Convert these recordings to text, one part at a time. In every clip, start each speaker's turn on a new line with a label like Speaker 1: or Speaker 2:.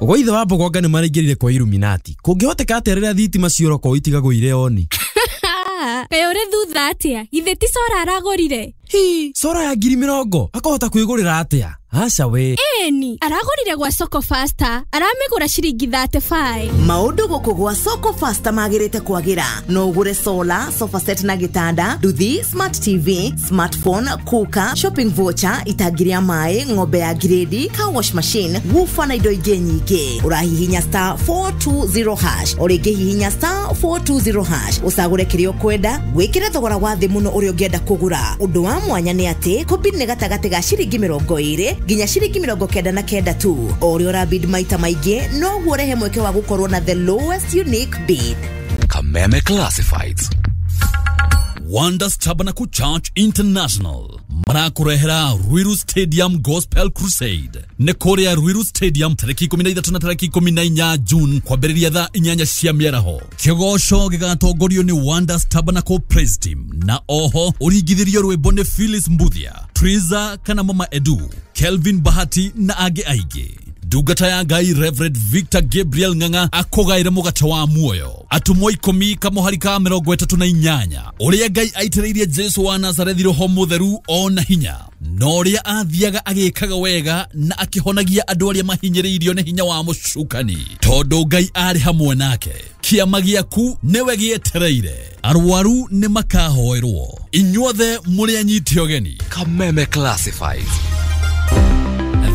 Speaker 1: Gwa ithe wa Mbogonga nĩ maraingĩrire kwa Illuminati. Kũngĩhoteka atĩa rĩrĩa thitima ciora itigagwo irĩ oni?
Speaker 2: Kaĩ ũrĩ thutha atĩa? Githĩ ti cora aragũrire?
Speaker 1: Hi, cora ya 20,000 akahota kwĩgũrĩra atĩa? Aca we.
Speaker 2: Ĩni, aragũrire gwa Soko Faster, aramĩgũra ciringi 35.
Speaker 3: Maũndũ gũkũ gwa Soko Faster magĩrĩte kwagĩra. No ũgũre solar, sofa set na gĩtanda, nduthi, smart TV, smartphone, cooker, shopping voucher, itangi rĩa maĩ, ng'ombe ya grade, car wash machine, woofer na indo ingĩ nyingĩ. Ũrahihinya star 420 hash, o rĩngĩ hihinya star 420 hash, ũcagũre kĩrĩa ũkwenda, wĩkĩre thogora wa thĩ mũno ũrĩa ũngĩenda kũgũra. Ũndũ wa mwanya nĩ atĩ kũbid nĩ gatagatĩ ga ciringi 20 nginya ciringi 99 tu. O ũrĩa ũrabid maita maingĩ noguo ũrehe mweke wa gũkorwo na the lowest unique bid.
Speaker 4: Kameme Classifieds. Wonders Tabernacle Church International marakurehera Ruiru Stadium Gospel Crusade nĩ kũrĩa Ruiru Stadium tarĩki 13 na tarĩki 14 June kwambĩrĩria thaa 8 cia mĩaraho. Kĩgoco gĩgatongorio nĩ Wonders Tabernacle Praise Team na oho ũringithĩrio rwĩmbo nĩ Phyllis Mbuthia, Triza kana Mama Edu, Kelvin Bahati na angĩ aingĩ. Ndungata ya Ngai Reverend Victor Gabriel Ng'ang'a akũgaĩre mũgate wa muoyo. Atũmwo 10 kamũhari ka 38 ũrĩa Ngai aitĩrĩirie Jesu wa Nazarethi roho mũtheru ona hinya, na ũrĩa athiaga agĩkaga wega na akĩhonagia andũ arĩa mahinyĩrĩirio nĩ hinya wa mũcukani, tondũ Ngai arĩ hamwe nake. Kĩama gĩaku nĩwe gĩetereire. Arwaru nĩ makahoerwo. Inyuothe mũrĩ anyiti ũgeni. Kameme Classifieds.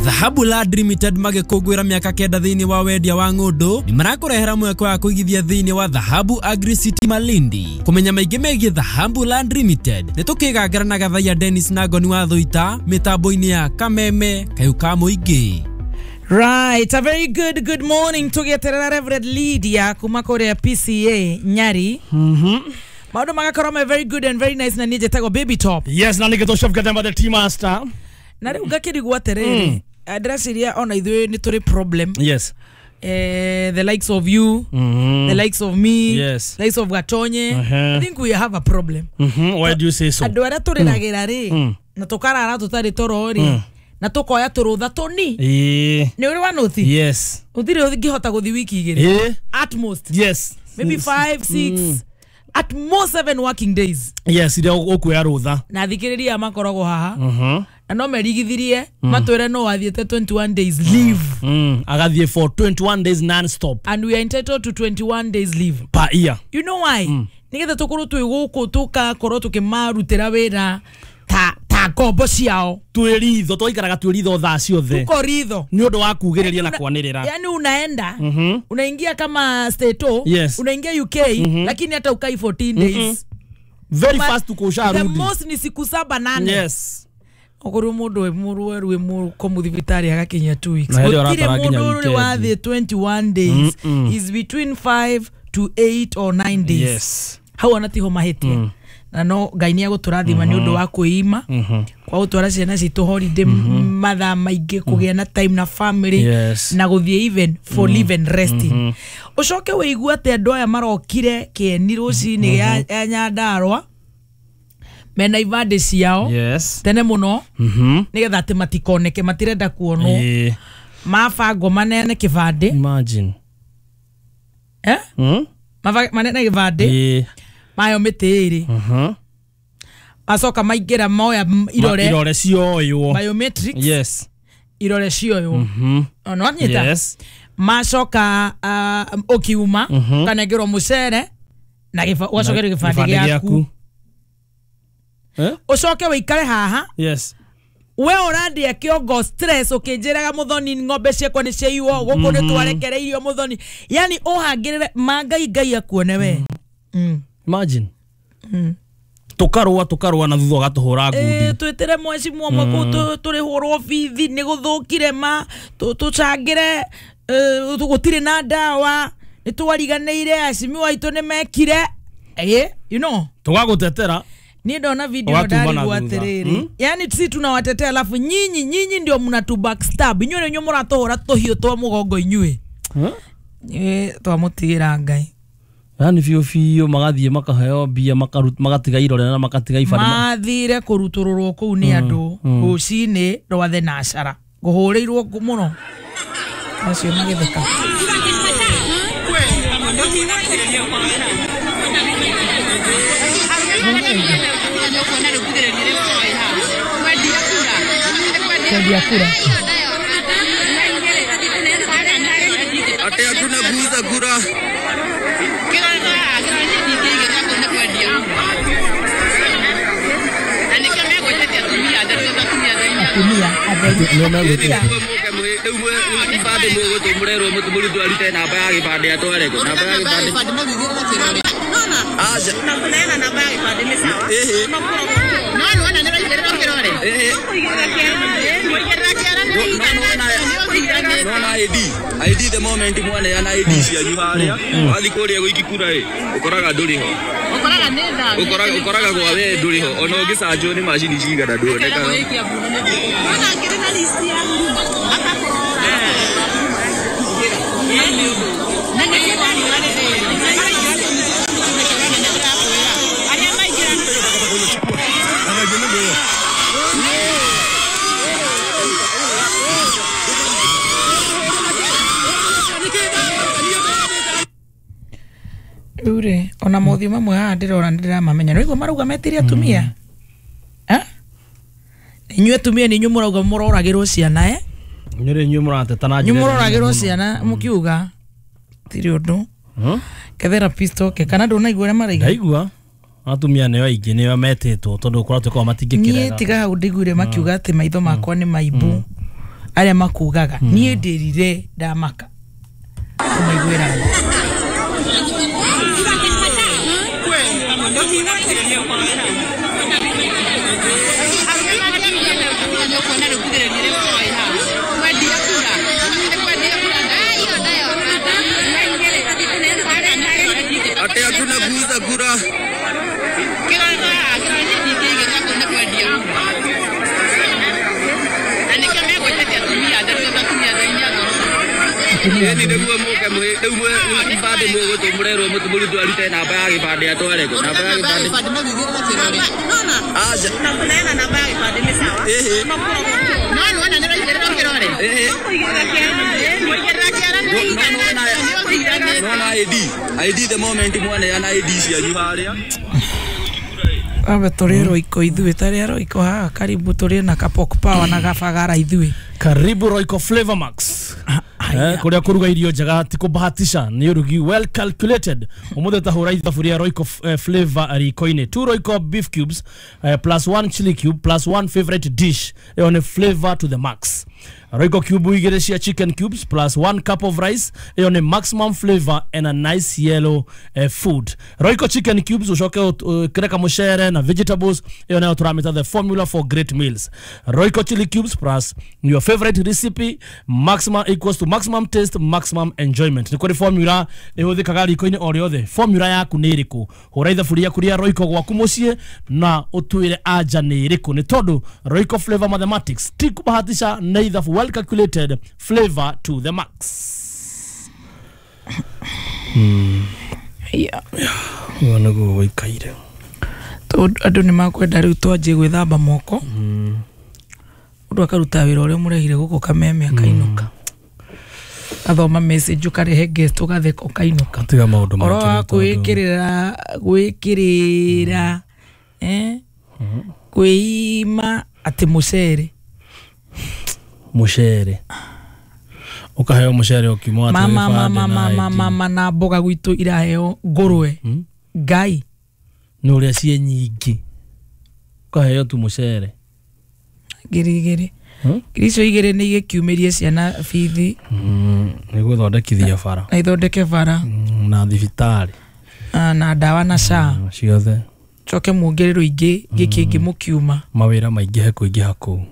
Speaker 1: Dhahabu Land Limited magĩkũngũĩra mĩaka 9 thĩinĩ wa wendia wa ng'ũndũ nĩ marakũrehera mweke wa kũigithia thĩinĩ wa Dhahabu Agri City Malindi. Kũmenya maingĩ megiĩ Dhahabu Land Limited nĩ tũkĩgangara na Gathaiya Dennis na Ngoni wa Thũita mĩtambo-inĩ ya Kameme Kayũ ka Mũingĩ.
Speaker 5: Right, a very good morning tũgĩeterera Reverend Lydia kuma kũrĩa PCA Nyari. Maũndũ magakorwo me very good and very nice na niĩ njĩtagwo Baby Top.
Speaker 6: Yes, na nĩgĩtwo Chef Gathemba the tea master.
Speaker 5: Na rĩu ngakĩrigwo atĩrĩrĩ, ndĩreciria ona ithuĩ nĩ tũrĩ problem.
Speaker 6: Yes.
Speaker 5: The likes of you, the likes of me,
Speaker 6: yes,
Speaker 5: the likes of Gatonye. I think we have a problem.
Speaker 6: Why do you say so?
Speaker 5: Andũ arĩa tũrĩragĩra rĩ, na tũkarara tũtarĩ toro rĩ, na tũkoya tũrũtha tũni. Nĩ ũrĩ wa nũthi?
Speaker 6: Yes.
Speaker 5: Ũtirĩ ũngĩhota gũthiĩ wiki 2. At most.
Speaker 6: Yes.
Speaker 5: Maybe 5, 6, at most 7 working days.
Speaker 6: Yes, iria ũkuoya rũtha.
Speaker 5: Na thikĩrĩria makoragwo haha. Na no merigithirie matwĩre no wathiĩte 21 days leave.
Speaker 6: Agathiĩ for 21 days non-stop.
Speaker 5: And we are entitled to 21 days leave
Speaker 6: per year.
Speaker 5: You know why? Nĩgetha tũkorwo twĩ gũkũ tũkakorwo tũkĩmarutĩra wĩra ta ngombo ciao.
Speaker 6: Twĩ ritho, twaikaraga twĩ ritho thaa ciothe.
Speaker 5: Tuko ritho.
Speaker 6: Nĩ ũndũ wa kugĩrĩria na kwanĩrĩra.
Speaker 5: Yani unaenda, unaingia kama Stato,
Speaker 6: yes,
Speaker 5: unaingia UK, lakini hata ukai 14 days.
Speaker 6: Very fast uko usharudi.
Speaker 5: The most ni siku 7 8.
Speaker 6: Yes.
Speaker 5: Okorwo mũndũ wĩ mũrwaru wĩ mũkomu thibitarĩ agakinyia 2 weeks. Gũtirĩ mũndũ ũrĩ wathiĩ 21 days. Is between 5 to 8 or 9 days.
Speaker 6: Yes.
Speaker 5: Hau ona tiho mahĩtia. Na no Ngai nĩ agũtũrathima nĩ ũndũ wa kwĩima, kwa gũtwara ciana citũ holiday mathaa maingĩ, kũgĩa na time na family,
Speaker 6: yes,
Speaker 5: na gũthiĩ even for live and resting. Ũcoke wĩigue atĩ andũ aya marokire kĩeni rũcinĩ ya Nyandarũa mena ibandĩ ciao,
Speaker 6: yes,
Speaker 5: tene mũno, nĩgetha atĩ matikoneke, matirenda kuonwo. Mabangwo manene kĩbandĩ.
Speaker 6: Imagine.
Speaker 5: Eh? Manene kĩbandĩ. Mayo mĩtĩ ĩrĩ. Macoka maingĩra moya irore.
Speaker 6: Irore cioywo.
Speaker 5: Biometrics.
Speaker 6: Yes.
Speaker 5: Irore cioywo. Ona wanyita?
Speaker 6: Yes.
Speaker 5: Macoka ũkiuma, ũkanengerwo mũcere na ũgacokerio gĩbandĩ gĩaku. Ũcoke wĩikare haha.
Speaker 6: Yes.
Speaker 5: We ũrandia kĩongo stress ũkĩnjĩraga Mũthoni ng'ombe ciakwa nĩ ciaiywo gũkũ nĩ twarekereirio Mũthoni. Yani ũhangĩrĩre ma Ngai Ngai akuone we.
Speaker 6: Imagine. Tũkarũa na thutha ũgatũhũra ngundi.
Speaker 5: Twĩtĩre mweci mwe kũu tũrĩhũrwo bithi nĩ gũthũkire ma tũcangĩre gũtirĩ na ndawa nĩ twariganĩire acimiwa aitũ nĩ mekire. You know.
Speaker 6: Tũgagũtetera.
Speaker 5: Niĩ ndona video ndarigwo atĩrĩrĩ. Yani sisi tunawatetea alafu nyinyi ndio mnatu backstab. Inyuĩ nĩ mũratũhũra tũhiũ twa mũgongo inyuĩ. Twamũtigĩra Ngai.
Speaker 6: Yani biũ biũ magathiĩ makaheo mbia magatiga irore na magatiga ibandĩ.
Speaker 5: Mathire kũrutũrũrwo kũu nĩ andũ rũcinĩ rwa thenashara. Ngũhũrĩirwo mũno. Acio magĩtheka. Kwendia kura.
Speaker 7: Ate hakuna kuuza kura.
Speaker 5: Atumia atheri.
Speaker 7: ID the moment mwana ana ID cianyu haria wathi kuria gwiki kura ĩ ũkoraga ndũrĩ ho ũkoraga gwa we ndũrĩ ho ona ũngĩcanjwo nĩ macini cigana nduonekaga.
Speaker 5: Rĩu rĩ ona mothiũ mamwe haha ndĩrona nĩndĩramamenya nĩwaigua marauga metirie atumia. Inyuĩ atumia nĩ inyuĩ mũrauga mũroragĩrwo ciana
Speaker 6: Inyuĩ inyuĩ mũrateta na
Speaker 5: inyuĩ mũroragĩrwo ciana mũkiuga tirĩ ũndũ. Ke therapist oke kana ndũnaigua ũrĩa maraiga.
Speaker 6: Ndaigua atumia nĩo aingĩ nĩo metĩtwo tondũ kũratuĩka o matingĩkĩrega.
Speaker 5: Niĩ tiga hau ndiguire makiuga atĩ maitho makwa nĩ maimbu arĩa makugaga niĩ ndĩrire ndamaka kũmaiguĩra tha.
Speaker 7: Ate hakuna kuuza kura. ID the moment mwana ana ID cianyu haria.
Speaker 5: Abe tũrĩ Royco ithuĩ tarĩ Royco haha karibu tũrĩ na Kapok Power na Gabagara ithuĩ.
Speaker 6: Karibu Royco Flavor Max. Kuria kuruga irio njega ti kubahatisha ni urugi well calculated. Umuthi tahura ithaburia Royco Flavor riko-inĩ 2 Royco beef cubes plus 1 chili cube plus 1 favorite dish ĩyo nĩ flavor to the max. Royco cube igĩrĩ cia chicken cubes plus 1 cup of rice ĩyo nĩ maximum flavor and a nice yellow food. Royco chicken cubes ucoke ũkĩreka mũcere na vegetables ĩyo nayo tũramĩta the formula for great meals. Royco chili cubes plus your favorite recipe maximum equals to maximum taste maximum enjoyment. Nĩ kũrĩ formula ĩhũthĩkaga riko-inĩ o rĩothe. Formula yaku nĩ ĩrĩkũ? Hũra ithaburia yaku rĩa Royco gwaku mũciĩ na ũtwĩre anja nĩ ĩrĩkũ, nĩ tondũ Royco Flavor Mathematics ti kũbahatisha nĩ ithabu well calculated flavor to the max.
Speaker 5: Yeah.
Speaker 6: Ũguo nĩguo gũikaire.
Speaker 5: Tondũ andũ nĩ makwenda rĩu twanjie gwĩthamba moko. Mũndũ akaruta wĩra ũrĩa ũmũrehire gũkũ kameme akainũka. Athoma message ũkarehe guest ũgatheka ũkainũka.
Speaker 6: Tiga maũndũ
Speaker 5: Oro wa kwĩkĩrĩra gwĩkĩrĩra kwĩima atĩ mũcere.
Speaker 6: Mũcere. Ũkaheo mũcere ũkiuma atĩ
Speaker 5: Mama
Speaker 6: gĩbandĩ
Speaker 5: mama
Speaker 6: na
Speaker 5: mama
Speaker 6: ID.
Speaker 5: mama na mboga gwitũ iraheo ngũrwe. Ngai.
Speaker 6: Nĩ ũrĩa ciĩ nyingĩ. Ũkaheo tu mũcere.
Speaker 5: Ngiri igĩrĩ. Ngiri icio igĩrĩ nĩ igĩkiumĩrie ciana bithi.
Speaker 6: Nĩ gũthondekithia bara.
Speaker 5: Na ithondeke bara.
Speaker 6: Na thibitarĩ.
Speaker 5: Na ndawa na SHA.
Speaker 6: Ciothe.
Speaker 5: Coke muongererwo ingĩ gĩkĩ mũkiuma.
Speaker 6: Mawĩra maingĩhe kũingĩha kũu.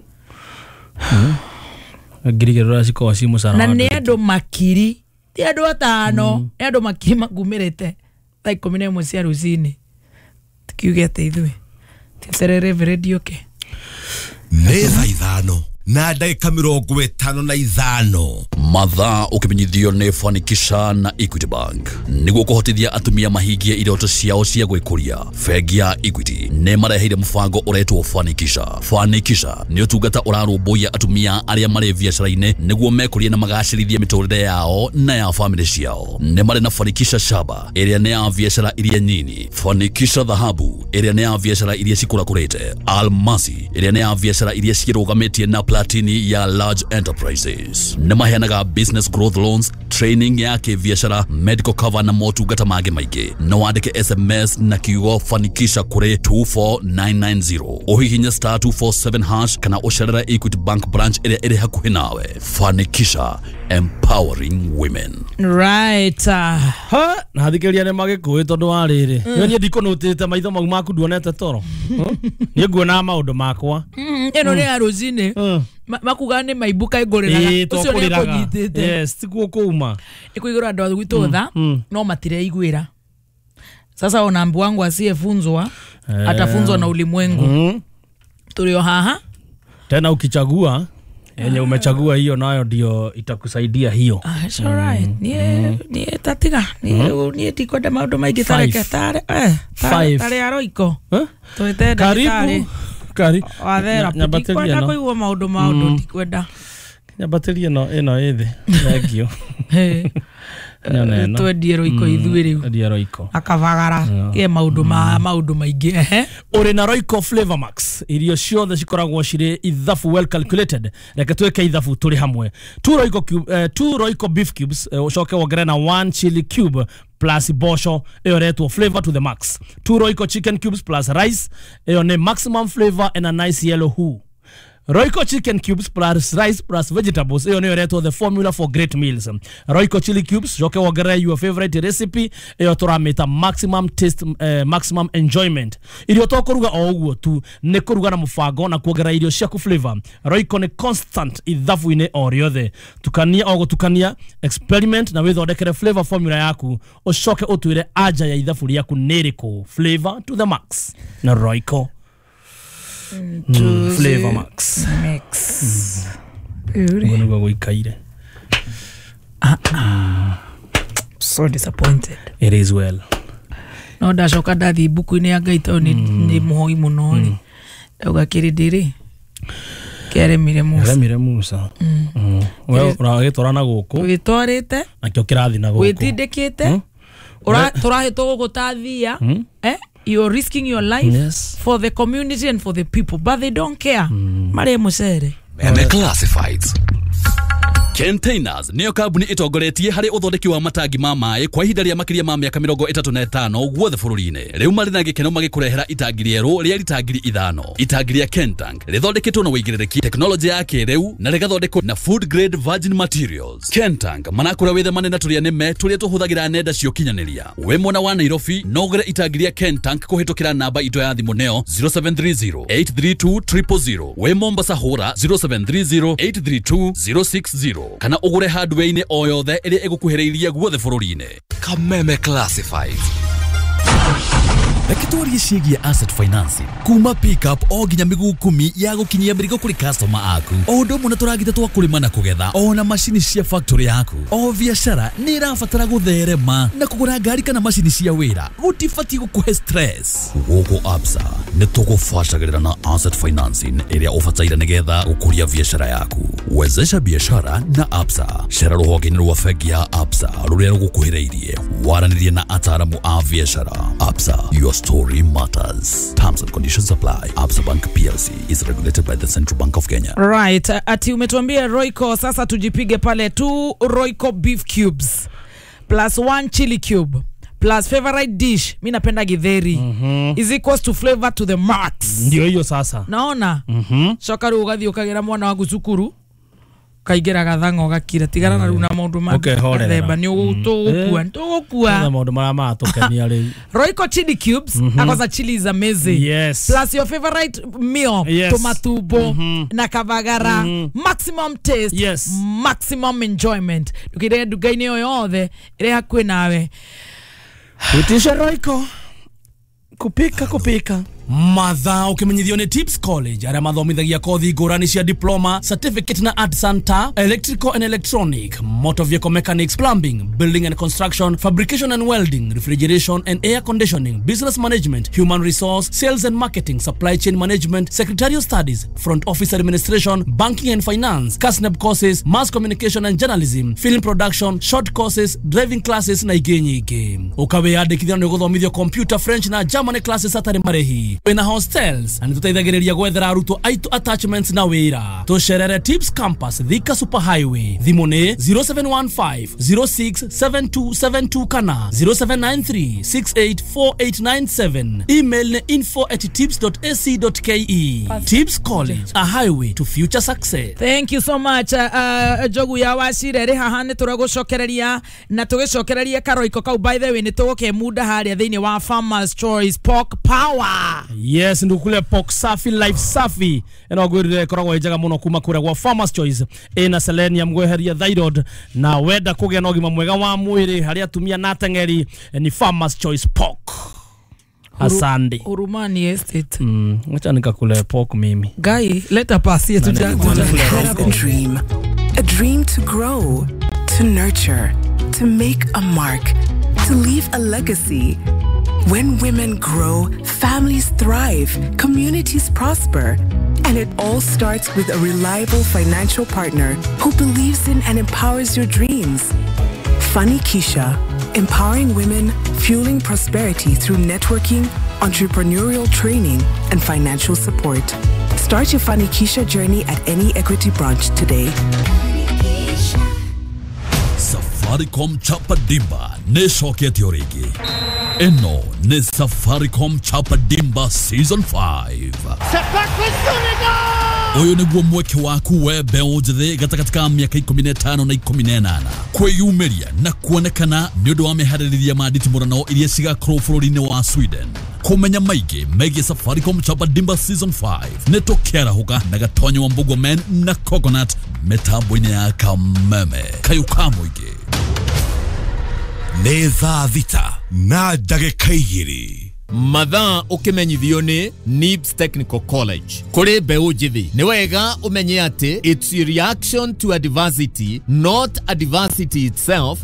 Speaker 6: Ngiri igĩrĩ ũrĩa cikoragwo ci mũcara
Speaker 5: Na
Speaker 6: wa
Speaker 5: nĩ
Speaker 6: andũ
Speaker 5: andũ makiri ti andũ atano nĩ andũ makiri makumĩrĩte thaa 11 cia rũcinĩ. Tukiuge atĩ ithuĩ tweterere Reverend oke.
Speaker 8: Nĩ thaa 5 na ndagĩka 55.
Speaker 4: Mathaa ũkĩmenyithio nĩ Fanikisha na Equity Bank nĩguo kũhotithia atumia mahingie iroto ciao cia gwĩkũria. Bengi ya Equity nĩ mareheire mũbango ũretwo Fanikisha. Fanikisha nĩ ũtungata ũrarũmbũiya atumia arĩa marĩ biacara-inĩ nĩguo mekũrie na magacĩrithie mĩtũrĩre yao na ya famĩlĩ ciao. Nĩ marĩ na Fanikisha Shaba ĩrĩa nĩ ya biacara iria nyini, Fanikisha Dhahabu ĩrĩa nĩ ya biacara iria cikũrakũrĩte, Almasi ĩrĩa nĩ ya biacara iria cirũgamĩtie na Platini ya large enterprises. Nĩ maheanaga business growth loans, training ya kĩbiacara, medical cover na motungata mangĩ maingĩ. No wandĩke SMS na kiugo Fanikisha kũrĩ 24990, ũhihinye star 247 hash kana ũcerere Equity Bank branch ĩrĩa ĩrĩ hakuhĩ nawe. Fanikisha, empowering women.
Speaker 5: Right.
Speaker 6: Ha, na thikĩrĩria nĩ magĩkũĩ tondũ wa rĩrĩ. Niĩ ndikũnũtĩte maitho mau maku nduonete toro. Niĩ nguonaga maũndũ makwa.
Speaker 5: Ĩno nĩ ya rũcinĩ. Makuga nĩ maimbuka ĩngũrĩraga. Ũcio nĩ akũnyitĩte.
Speaker 6: Yes, tikuo kũuma.
Speaker 5: Ĩkũigũra andũ a gwitũ tha no matireiguĩra. Sasa ona mbu wangu asiyefunzwa atafunzwa na ulimwengu. Tũrĩ o haha.
Speaker 6: Tena ukichagua yenye umechagua hiyo nayo ndio itakusaidia hiyo.
Speaker 5: It's all right. Nie tatiga. Nie tikwenda maundu maingi tareke tare. Tare aroiko. Twete ndagitari.
Speaker 6: Karibu.
Speaker 5: Wathera. Tikwenda kuigua maundu tikwenda.
Speaker 6: Nyambatĩrie ĩno ĩthĩ. Thank you.
Speaker 5: Twendie Royco ithuĩ rĩu.
Speaker 6: Twendie Royco.
Speaker 5: Akabagara ke maundu ma maundu maingĩ. Ehe.
Speaker 6: Ũrĩ na Royco Flavor Max. Irio ciothe cikoragwo cirĩ ithabu well calculated. Reke twĩke ithabu tũrĩ hamwe. 2 Royco beef cubes, ũcoke wongerere na 1 chili cube plus bosho ĩyo ĩretwo flavor to the max. 2 Royco chicken cubes plus rice ĩyo nĩ maximum flavor and a nice yellow hue. Royco chicken cubes plus rice plus vegetables iyo niyo ĩretwo the formula for great meals. Royco chili cubes coke wongerere your favorite recipe iyo tũramĩta maximum taste, maximum enjoyment. Irio to kũruga o ũguo tu nĩ kũruga na mũbango na kuongerera irio ciaku flavor. Royco nĩ constant ithabu-inĩ o rĩothe. Tukania o gũtukania, experiment na wĩthondekere flavor formula yaku ũcoke ũtwĩre anja ya ithabu rĩaku nĩ ĩrĩkũ. Flavor to the max na Royco. Flavor Max.
Speaker 5: Mix.
Speaker 6: Ngono gũikaire.
Speaker 5: So disappointed.
Speaker 6: It is well.
Speaker 5: No ndacoka ndathi ibuku-inĩ ya Ngai tondũ nĩ mũhoi mũno rĩ. Ndauga kĩrĩndĩ rĩ kĩaremire Musa.
Speaker 6: Kĩaremire Musa. We ũragĩtwara na gũkũ.
Speaker 5: Wĩtwarĩte.
Speaker 6: Nakĩo kĩrathi na gũkũ.
Speaker 5: Wĩtindĩkĩte. Tũrahĩtwo gũkũ ta thia. You're risking your life, yes, for the community and for the people, but they don't care. Mare mucere.
Speaker 4: Meme Classifieds. Containers niyo kambuni itongoretie harĩ ũthondeki wa matangi ma maĩ kwa ihinda rĩa makĩria ma mĩaka 35 guothe bũrũri-inĩ. Rĩu marĩ na gĩkeno magĩkũrehera itangi rĩerũ rĩa rita 5,000. Itangi rĩa Kentank rĩthondeketwo na wĩigĩrĩrĩki, tekinoronjĩ ya kĩrĩu na rĩgathondekwo na food grade virgin materials. Kentank manakũra wĩthemane na tũrĩa nĩme tũrĩa tũhũthagĩra nenda cia ũkinyanĩria. Wĩ mwena wa Nairobi no ũgũre itangi rĩa Kentank kũhĩtũkĩra namba itũ ya thimũ neo 0730 832 000. Wĩ Mombasa hũra 0730 832 060 kana ũgũre hardware-inĩ o yothe ĩrĩa ĩgũkuhĩrĩirie guothe bũrũri-inĩ. Kameme Classifieds. Reke twarie ciĩgiĩ asset financing kuma pickup o nginya mĩguu 10 ya gũkinyia mĩrigo kũrĩ customer aku, o ũndũ ũmwe na tũragita twa kũrĩma na kũgetha, o na macini cia factory yaku. O biacara nĩ ĩrabatara gũtherema na kũgũra ngari kana macini cia wĩra gũtibatiĩ gũkũhe stress. Gũkũ Absa nĩ tũgũbacagĩrĩra na asset financing ĩrĩa ũbataire nĩgetha gũkũria biacara yaku. Wezesha biashara na Absa. Cera rũhonge-inĩ rwa bengi ya Absa rũrĩa rũgũkuhĩrĩirie, waranĩrie na ataaramu a biacara. Absa, your story matters. Terms and conditions apply. Absa Bank PLC is regulated by the Central Bank of Kenya.
Speaker 5: Right, ati umetuambia Royco, sasa tujipige pale 2 Royco beef cubes plus 1 chili cube plus favorite dish, mi napenda githeri, is equals to flavor to the max.
Speaker 6: Ndio hiyo sasa.
Speaker 5: Naona? Coka rĩu ũgathiĩ ũkagĩra mwana waku cukuru kaingĩra gathang'o gakira tigana na rĩu na maũndũ ma themba nĩ tũgũkua tũgũkua
Speaker 6: maũndũ marĩa maratũkenia rĩu.
Speaker 5: Royco chili cubes, mm chili is amazing.
Speaker 6: Yes.
Speaker 5: Plus your favorite meal,
Speaker 6: yes,
Speaker 5: tomatumbo na kavagara, maximum taste,
Speaker 6: yes,
Speaker 5: maximum enjoyment. Ndũkĩre nduka-inĩ o yothe ĩrĩa hakuhĩ nawe.
Speaker 6: Utisha Royco kupika kupika. Mathaa ũkĩmenyithio nĩ Tips College arĩa mathomithagia kothi ngũrani cia diploma, certificate na art center, electrical and electronic, motor vehicle mechanics, plumbing, building and construction, fabrication and welding, refrigeration and air conditioning, business management, human resource, sales and marketing, supply chain management, secretarial studies, front office administration, banking and finance, KASNEB courses, mass communication and journalism, film production, short courses, driving classes na ingĩ nyingĩ. Ũkawĩyandĩkithia nĩ ũgũthomithio computer, French na German classes hatarĩ marĩhi. Wĩna hostels na nĩtũteithagĩrĩria gwethera arutwo aitũ attachments na wĩra. Tũcerere Tips Campus, Thika Super Highway. Thimũ nĩ 0715 067272 kana 0793 684897. Email nĩ info@tips.ac.ke. Tips College, a highway to future success.
Speaker 5: Thank you so much, Njogu ya Wacire rĩ haha nĩ tũragũcokereria na tũgĩcokereria karoiko kau. By the way, nĩ tũgũkemunda harĩa thĩinĩ wa Farmers Choice Pork Power.
Speaker 6: Yes, ndukule pork safi, life safi ĩno ngwĩrire ĩkoragwo ĩ njega mũno kuma kũrĩa gwa Farmers Choice, ĩna selenium gweheria thyroid, na wenda kũgĩa na ũgima mwega wa mwĩrĩ harĩ atumia na ateng'eri ni Farmers Choice Pork. Asante.
Speaker 5: Hurumani Estate.
Speaker 6: Acha nikakule pork mimi.
Speaker 5: Guy, leta pasi
Speaker 6: Na nikakule
Speaker 8: Have a dream. A dream to grow, to nurture, to make a mark, to leave a legacy. When women grow, families thrive, communities prosper. And it all starts with a reliable financial partner who believes in and empowers your dreams. Funny Keisha, empowering women, fueling prosperity through networking, entrepreneurial training, and financial support. Start your Funny Keisha journey at any Equity branch today.
Speaker 4: Safaricom Chapa Dimba nĩ ĩcokete o rĩngĩ. Ĩno nĩ Safaricom Chapa Dimba Season 5. Ũyũ nĩguo mweke waku we mbeũ njĩthĩ gatagatĩ ka mĩaka 15 na 18 kwĩyumĩria na kuonekana nĩ ũndũ wa meharĩrĩria ma nditimũrano iria cigakorwo bũrũri-inĩ wa Sweden. Kũmenya maingĩ megiĩ Safaricom Chapa Dimba Season 5 nĩ tũkĩarahũka na Gatonyo wa Mbugua Men na Coconut mĩtambo-inĩ ya Kameme kayũ ka mũingĩ.
Speaker 9: Nĩ thaa 6 na ndagĩka 2.
Speaker 10: Mathaa ũkĩmenyithio nĩ NIBS Technical College. Kũrĩ mbeũ njĩthĩ nĩ wega ũmenye atĩ it's a reaction to adversity, not adversity itself.